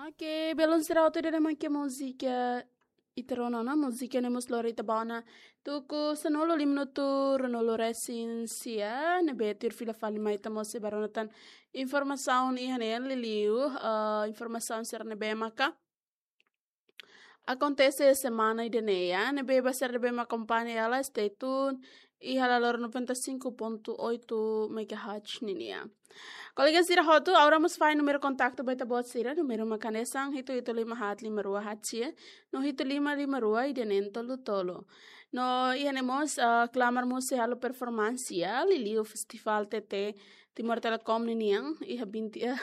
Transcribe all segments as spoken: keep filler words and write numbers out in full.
Oke, belun sira hotu, ida-ne'e mak múzika ita rona ona, múzika ne'e mós lori ita ba ona tuku sanulu, lima minutu ruanulu resin sia, ne'ebé tuir fila fali mai ita mós sei bá rona tan informasaun iha ne'e, liuliu, eh, informasaun sira ne'ebé maka akontese semana ida-ne'e, ne'ebé ba sira ne'ebé mak akompaña hela, stay tune iha Lalor noventa e cinco ponto oito megahertz ninian. Kolega sira hotu, agora mós fahe númeru kontaktu ba ita-boot sira, númeru mak hanesan hitu hitu lima haat lima rua haat sia, no hitu lima lima rua ida neen tolu tolu. No iha ne'e mós, ah, klamar mós sei halo performansia, liuliu Festival T T Timor Telecom ninian, iha vinte, eh,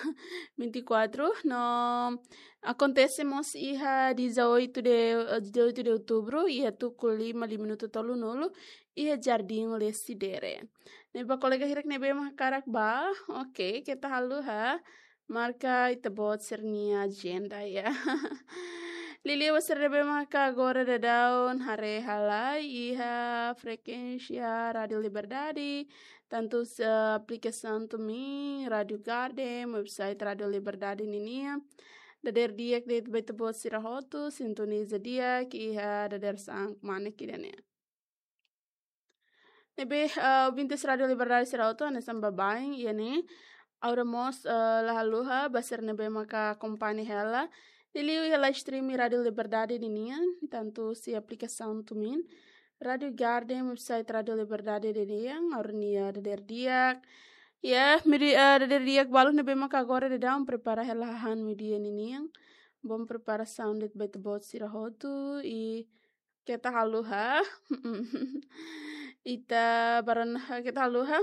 vinte e quatro, no akontese mós iha dezoito de, eh, dezoito de outubro, iha tuku lima, lima minutu tolunulu, iha Jardim Lecidere. Ne'e ba kolega hirak ne'ebé mak hakarak bá, oke, keta haluha marka ita-boot sira-nia ajenda, ya. Liuliu ba sira ne'ebé maka agora daudaun haree hela iha frekuénsia Rádio Liberdade, tantu iha aplikasaun TuneIn, Rádio Garden, website Rádio Liberdade ninian. Dadeer di'ak de'it ba ita-boot sira hotu, sintoniza di'ak iha dadeer-saan kmanek ida-ne'e. Ne'ebé, eh, ouvintes Rádio Liberdade sira hotu, hanesan baibain, iha ne'e, agora mós, eh, la haluha ba sira ne'ebé maka akompaña hela, liuliu iha live stream Rádio Liberdade ninian, tantu iha aplikasaun TuneIn, Rádio Garden, website Rádio Liberdade ninian, agora ne'e dadeer di'ak. Ya, meiudia, eh, dadeer di'ak, balu ne'ebé maka agora daudaun prepara hela hahán meiudia ninian. Bom preparasaun de'it ba ita-boot sira hotu, i keta haluha. Ita bá rona, keta haluha.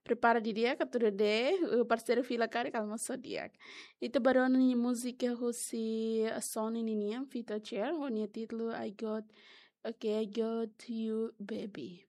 Prepara didi'ak atu dadeer, eh, parseiru fila karik almosu di'ak. Ita bá rona nia múzika husi Sony ninian, Vita Cher, ho nia títulu I Got, oke, I Got You, Baby.